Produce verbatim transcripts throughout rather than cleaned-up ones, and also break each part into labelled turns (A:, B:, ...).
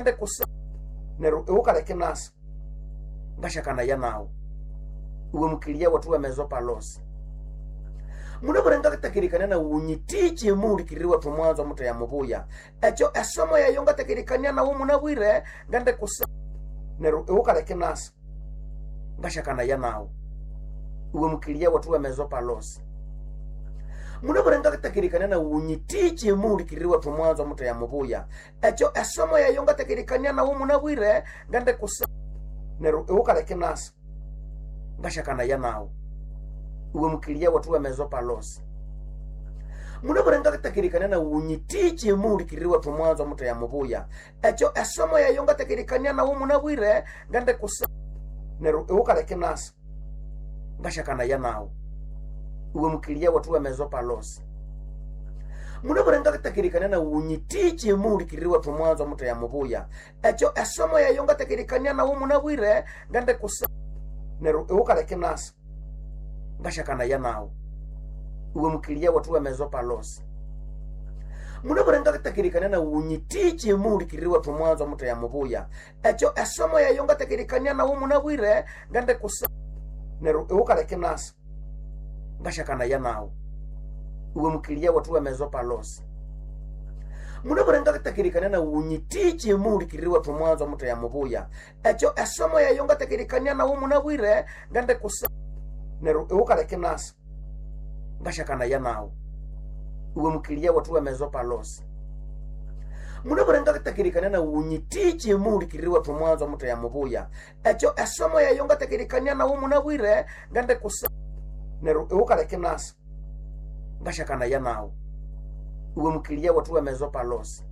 A: Kusa neryo iwukaleka inasa ngasyakanaya nawu iwe mukiliya wethu w'emezo palosi munabwire ngatakerikania nawu wunyitiche muhulikiriri wethu mwanzo mutheya mubuya ekyo esomo yayo ngatakerikania nawu munabwire ngende kusa neryo iwukaleka inasa ngasyakanaya nawu iwe mukiliya wethu w'emezo palosi munabwire ngatakerikania nawu wunyitiche muhulikiriri wethu mwanzo mutheya mubuya ekyo esomo yayo ngatakerikania nawu munabwire ngende kusa neryo iwukaleka inasa ngasyakanaya nawu iwe mukiliya wethu w'emezo palosi munabwire ngatakerikania nawu wunyitiche muhulikiriri wethu mwanzo mutheya mubuya ekyo esomo yayo ngatakerikania nawu munabwire ngende kusa neryo iwukaleka inasa ngasyakanaya nawu iwe mukiliya wethu w'emezo palosi munabwire ngatakerikania nawu wunyitiche muhulikiriri wethu mwanzo mutheya mubuya ekyo esomo yayo ngatakerikania nawu munabwire ngende kusa neryo iwukaleka inasa ngasyakanaya nawu iwe mukiliya wethu w'emezo palosi munabwire ngatakerikania nawu wunyitiche muhulikiriri wethu mwanzo mutheya mubuya ekyo esomo yayo ngatakerikania nawu munabwire ngende kusa neryo iwukaleka inasa ngasyakanaya nawu iwe mukiliya wethu w'emezo palosi munabwire ngatakerikania nawu wunyitiche muhulikiriri wethu mwanzo mutheya mubuya ekyo esomo yayo ngatakerikania nawu munabwire ngende kusa neryo iwukaleka inasa ngasyakanaya nawu iwe mukiliya wethu w'emezo palosi munabwire ngatakerikania nawu wunyitiche muhulikiriri wethu mwanzo mutheya mubuya ekyo esomo yayo ngatakerikania nawu munabwire ngende kusa neryo iwukaleka inasa ngasyakanaya nawu iwe mukiliya wethu w'emezo palosi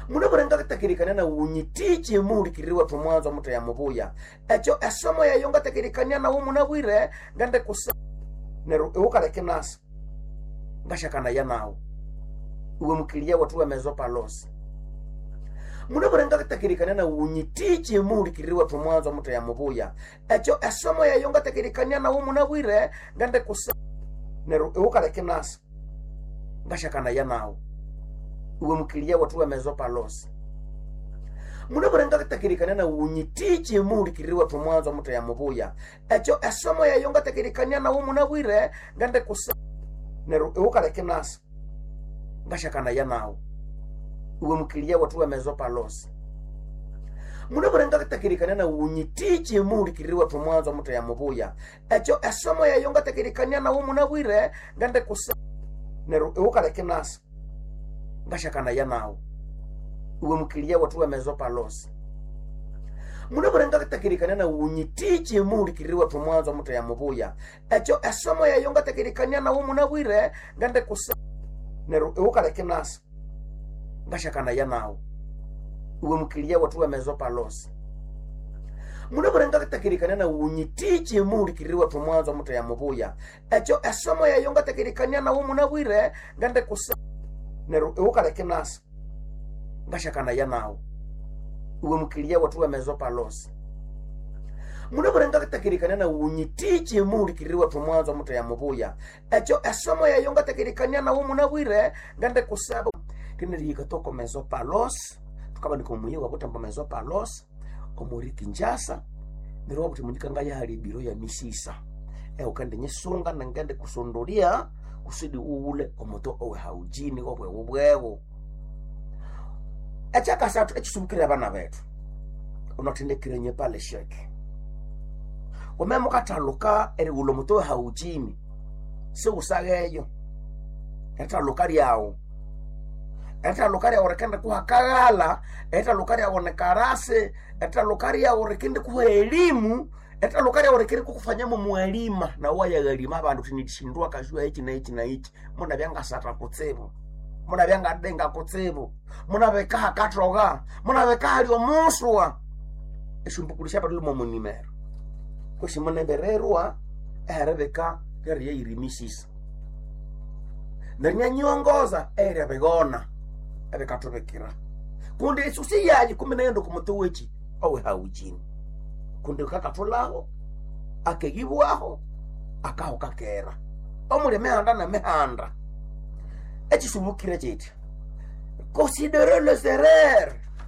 A: munabwire ngatakerikania nawu wunyitiche muhulikiriri wethu mwanzo mutheya mubuya ekyo esomo yayo ngatakerikania nawu munabwire ngende kusa neryo iwukaleka inasa ngasyakanaya nawu iwe mukiliya wethu w'emezo palosi munabwire ngatakerikania nawu wunyitiche muhulikiriri wethu mwanzo mutheya mubuya ekyo esomo yayo ngatakerikania nawu munabwire ngende kusa neryo iwukaleka inasa ngasyakanaya nawu iwe mukiliya wethu w'emezo palosi munabwire ngatakerikania nawu wunyitiche muhulikiriri wethu mwanzo mutheya mubuya ekyo esomo yayo ngatakerikania nawu munabwire ngende kusa neryo iwukaleka inasa ngasyakanaya nawu iwe mukiliya wethu w'emezo palosi munabwire ngatakerikania nawu wunyitiche muhulikiriri wethu mwanzo mutheya mubuya ekyo esomo yayo ngatakerikania nawu munabwire ngende kusa neryo iwukaleka inasa ngasyakanaya nawu iwe mukiliya wethu w'emezo palosi munabwire ngatakerikania nawu wunyitiche muhulikiriri wethu mwanzo mutheya mubuya ekyo esomo yayo ngatakerikania nawu munabwire ngende kusa neryo iwukaleka inasa ngasyakanaya nawu iwe mukiliya wethu w'emezo palosi munabwire ngatakerikania nawu wunyitiche muhulikiriri wethu mwanzo mutheya mubuya ekyo esomo yayo ngatakerikania nawu munabwire ngende kusa neryo iwukaleka inasa ngasyakanaya nawu iwe mukiliya wethu w'emezo palosi munabwire ngatakerikania nawu wunyitiche muhulikiriri wethu mwanzo mutheya mubuya ekyo esomo yayo ngatakerikania nawu munabwire ngende kusaba
B: rinarihika toko mezo palos tukabanika omuyi wabuthamba mezo palos omuri Kinshasa neryo wabuthi munyika ngayahali ebiro ya misisa eukende nyisunga nangende kusondolia kusudi uwule omuto owe haujini obwewu bwewu ekyakasathu ekisubukirira abana bethu unathendekire pale sheke wame mukathaluka erighulha omuto we haujini siwusagheyo erithaluka lyawu erithaluka lyawu rikende kuha kaghala erithaluka lyawu nikarasi erithaluka lyawu rikende kuha elimu erithaluka lyawu rikende kukufanyamo mwalima nawu wayaghalima abandu uthi nithindwa kashua iki na iki na iki munabya ngasatha kutsibu munabya ngadenga kutsibu munabekaha kathoga munabeka hali omuswa esyombukulu syabaduluma omunimero kwesi munembererwa eheribika lyeriyayirimishisa neryo nyanyiongoza eryabigona ebikathubikira kundi esusi yayi kumi naghenda okumuti weki owe haujini kundi kakathulaho akeyibwaho akaho kakera omuli emihanda nemihanda ekisubukire kiti considere les erreurs.